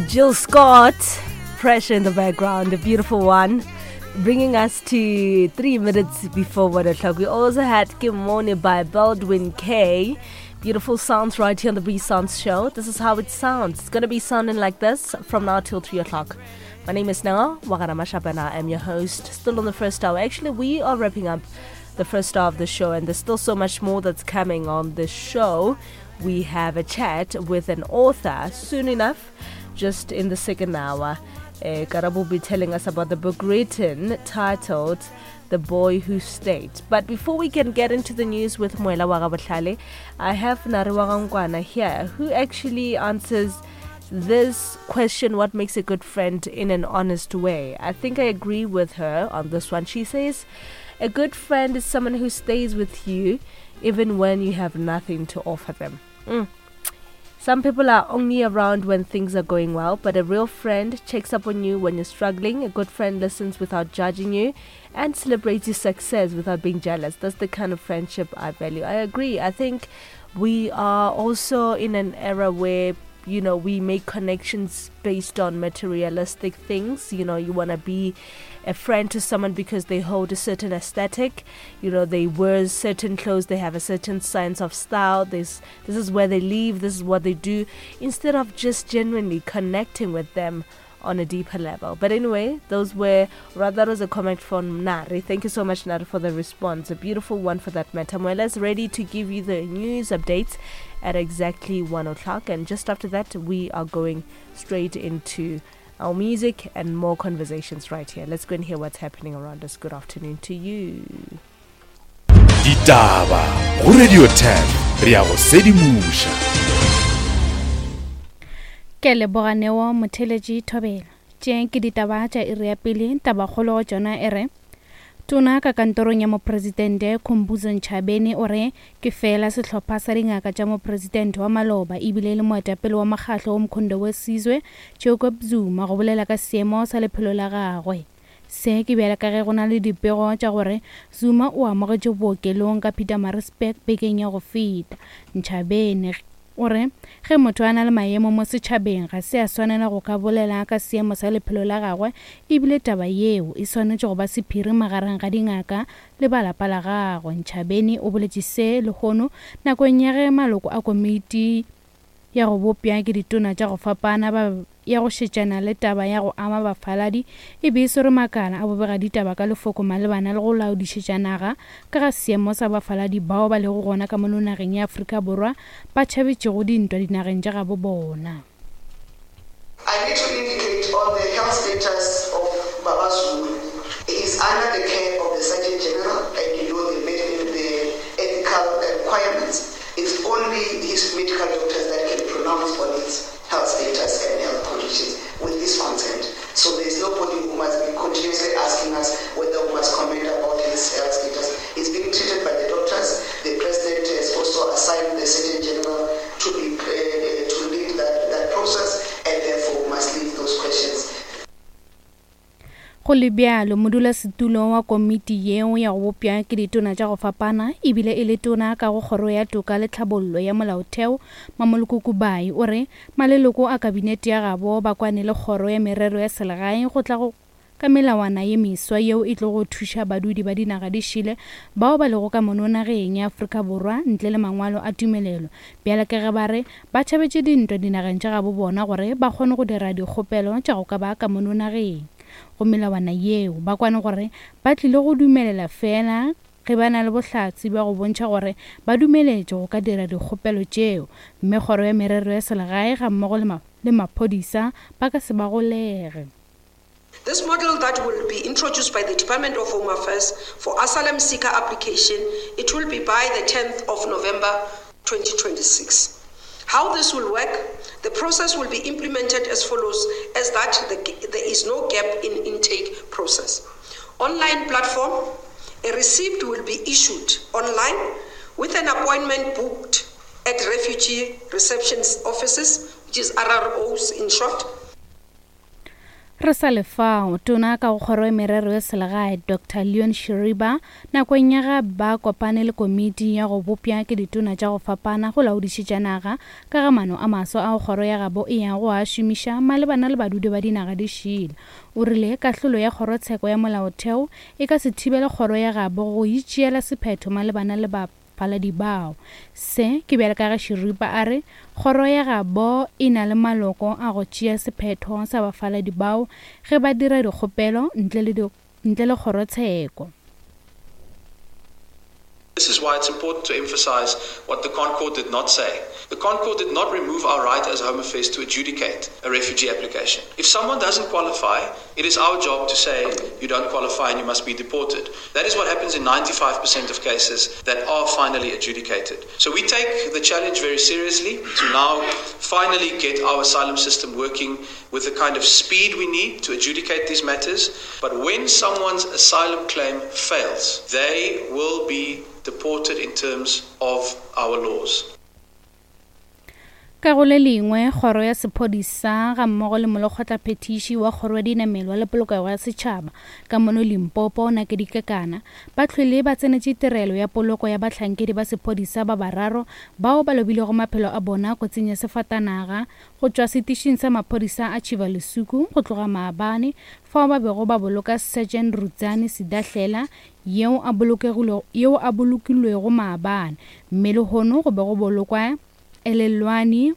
Jill Scott, pressure in the background, the beautiful one, bringing us to 3 minutes before 1 o'clock. We also had Kimone by Baldwin K. Beautiful sounds right here on the Breeze Sounds Show. This is how it sounds. It's going to be sounding like this from now till 3 o'clock. My name is Nanga Wagana I am your host. Still on the first hour. Actually, we are wrapping up the first hour of the show, and there's still so much more that's coming on the show. We have a chat with an author soon enough, just in the second hour. Uh, Karabo will be telling us about the book written titled The Boy Who Stayed. But before we can get into the news with Moela Wagabatlale, I have Nare Wagangwana here, who actually answers this question, what makes a good friend, in an honest way. I think I agree with her on this one. She says, a good friend is someone who stays with you even when you have nothing to offer them. Mm. Some people are only around when things are going well, but a real friend checks up on you when you're struggling. A good friend listens without judging you and celebrates your success without being jealous. That's the kind of friendship I value. I agree. I think we are also in an era where, you know, we make connections based on materialistic things. You know, you want to be a friend to someone because they hold a certain aesthetic. You know, they wear certain clothes, they have a certain sense of style. This is where they live, this is what they do, instead of just genuinely connecting with them on a deeper level. But anyway, those were, rather, that was a comment from Nari. Thank you so much, Nari, for the response. A beautiful one for that matter. Moela's ready to give you the news updates at exactly 1 o'clock. And just after that, we are going straight into our music and more conversations right here. Let's go and hear what's happening around us. Good afternoon to you. Ditaba go Radio 10 re a go sedimoša. Ke leboga Neo Motheletši Thobela. Tše ke ditaba tša iri ya pele, tabakgolo go tšona e re, Tona ka kantorong ya Mopresidente Khumbudzo Ntshavheni o re ke feela sehlopha sa dingaka tša mopresidente wa maloba ebile e le moetapele wa mokgahlo wo Mkhondo we Sizwe Jacob Zuma go bolela ka seemo sa lephelo la gagwe. Se ke bjale ka ge go na le dipego tša gore Zuma o amogetšwe bookelong ka Pietermaritzburg bekeng ya go feta. Ntshavheni O re, Ge motho a na le maemo mo setšhabeng ga se a swanela go ka bolela ka seemo sa lephelo la gagwe ebile taba yeo e swanetše go ba sephiri magareng ga dingaka le ba lapa la gagwe. Ntshavheni o boletše se lehono nakong ya ge maloko a komiti ya go bopša ke ditona tša go fapana ba ya go šetšana le taba ya go ama bafaladi e be e swere makala a bobegaditaba ka lefoko malebana le go laodišetša naga ka ga seemo sa bafaladi bao ba lego gona ka mono nageng ya Afrika Borwa ba tšhabetšego dintwa dinageng tša gabo bona. I need to indicate on the health status of Baba Zuma. He is under the care of the Surgeon General and you know the the ethical requirements. It's only his medical doctors that can pronounce on his health status and health conditions with his consent. So there is nobody who must be continuously asking us whether we must comment about his health status. He's being treated by the doctors. The president has also assigned the Surgeon General to be uh, to lead that, that process, and therefore we must leave those questions. Go le bjalo, modulasetulo wa komiti yeo ya go bopša ke ditona tša go fapana ebile e le tona ka go Kgoro ya Toka le Tlhabollo ya Molaotheo, Mamoloko Kubayi, o re maleloko a kabinete ya gabo ba kwane le Kgoro ya Merero ya Selegae go tla go ka melawana ye meswa yeo e tlogo thuša badudi ba dinaga di šele bao ba lego ka mono nageng ya Afrika Borwa ntle le mangwalo a tumelelo bjale ka ge ba re ba tšhabetše dintwa dinageng tša gabo bona gore ba kgone go dira dikgopelo tša go ka ba ka mono nageng. Go melawana yeo, ba kwane gore ba tlile go dumelela feela ge ba na le bohlatse bja go bontšha gore ba dumeletšwe go ka dira dikgopelo tšeo, mme Kgoro ya Merero ya Selegae gammogo le le maphodisa ba ka se ba golege. This model that will be introduced by the Department of Home Affairs for asylum seeker application, it will be by the 10th of November 2026. How this will work, the process will be implemented as follows, as that the, there is no gap in intake process. Online platform, a receipt will be issued online with an appointment booked at refugee reception offices, which is RROs in short. Re sa le fao, Tona ka go Kgoro ya Merero ya Selegae, Doctor Leon Schreiber, nakong ya ga ba kopane le komiti ya go bopša ke ditona tša go fapana go laodišetša naga ka ga maano a maswa ao kgoro ya gabo e yago go a šomiša malebana le badudi ba dinaga di šele. O rile kahlolo ya kgorotsheko ya molaotheo e ka se thibele kgoro ya gabo go itšeela sephetho malebana le bafaladi bao. Se ke bjale ka ge Shiripa a re kgoro ya gabo e na le maloko a go tšea sephetho sa bafaladi bao ge ba dira dikgopelo ntle le ntle le kgorotsheko. This is why it's important to emphasize what the Concord did not say. The Concord did not remove our right as Home Affairs to adjudicate a refugee application. If someone doesn't qualify, it is our job to say you don't qualify and you must be deported. That is what happens in 95% of cases that are finally adjudicated. So we take the challenge very seriously to now finally get our asylum system working with the kind of speed we need to adjudicate these matters. But when someone's asylum claim fails, they will be deported in terms of our laws. Ka go le lengwe, Kgoro ya Sephodisa gammogo le Molekgotlaphethiši wa Kgoro ya Dinamelwa le Polokego ya Setšhaba ka mono Limpopo, Nakedi Kekana, ba hlwele ba tsenetše tirelo ya poloko ya bahlankedi ba sephodisa ba bararo bao ba lobilego maphelo a bona kotsing ya sefatanaga go tšwa setišing sa maphodisa a Tšhiva-Lesuku go tloga maabane fao ba bego ba boloka Sergeant Rudzani Sidahlela yeo a yeo a bolokilwego maabane mme lehono go be go bolokwa Elelwani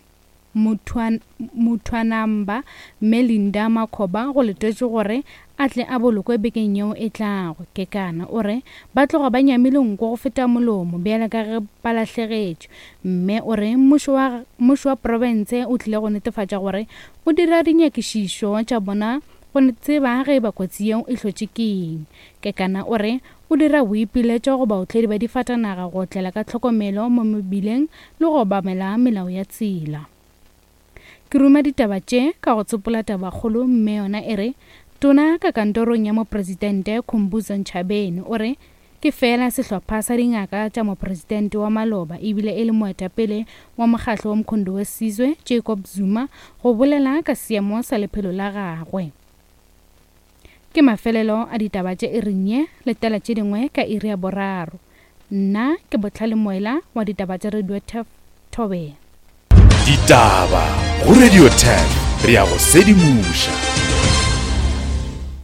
Muthwanamba mme Linda Makhoba go letetšwe gore a tle a bolokwe bekeng yeo e tlago. Kekana o re ba tloga ba nyamile nko go feta molomo bjale ka ge ba lahlegetšwe mme o re mmušo wa mmušo wa profense o tlile go netefatša gore o dira dinyakišišo tša bona go tseba ge e ba kotsi yeo e hlotše ke eng. Kekana o re o dira boipiletšo go baotledi ba difatanaga go otlela ka tlhokomelo mo mebileng le go obamela melao ya tsela. Ke ruma ditaba tše ka go tsopola tabakgolo mme yona e re, Tona ka kantorong ya Mopresidente Khumbudzo Ntshavheni o re ke feela sehlopha sa dingaka tša mopresidente wa maloba ebile e le moetapele wa mokgahlo wa Mkhonto we Sizwe Jacob Zuma go bolela ka seemo sa lephelo la gagwe. Ke mafelelo a ditaba tše iring ye, letela tše dingwe ka iri ya boraro. Nna ke Bohlale Moela wa ditaba tša Radio Turf Thobela. Ditaba go Radio Turf, re a go sedimoša.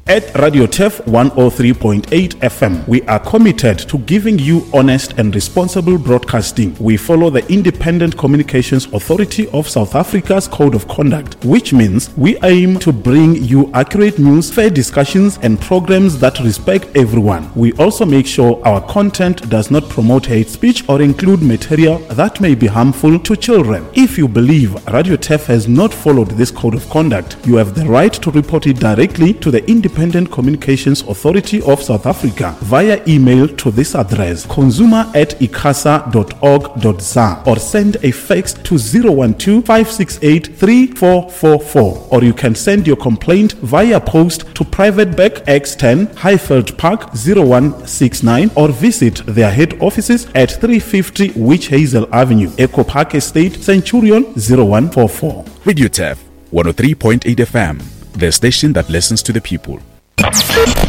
At Radio Turf 103.8 FM, we are committed to giving you honest and responsible broadcasting. We follow the Independent Communications Authority of South Africa's Code of Conduct, which means we aim to bring you accurate news, fair discussions, and programs that respect everyone. We also make sure our content does not promote hate speech or include material that may be harmful to children. If you believe Radio Turf has not followed this code of conduct, you have the right to report it directly to the Independent Communications Authority of South Africa via email to this address consumer at icasa.org.za or send a fax to 012 568 3444 or you can send your complaint via post to Private Bank X10 Highveld Park 0169 or visit their head offices at 350 Witch Hazel Avenue, Echo Park Estate, Centurion 0144. Radio Turf 103.8 FM, the station that listens to the people.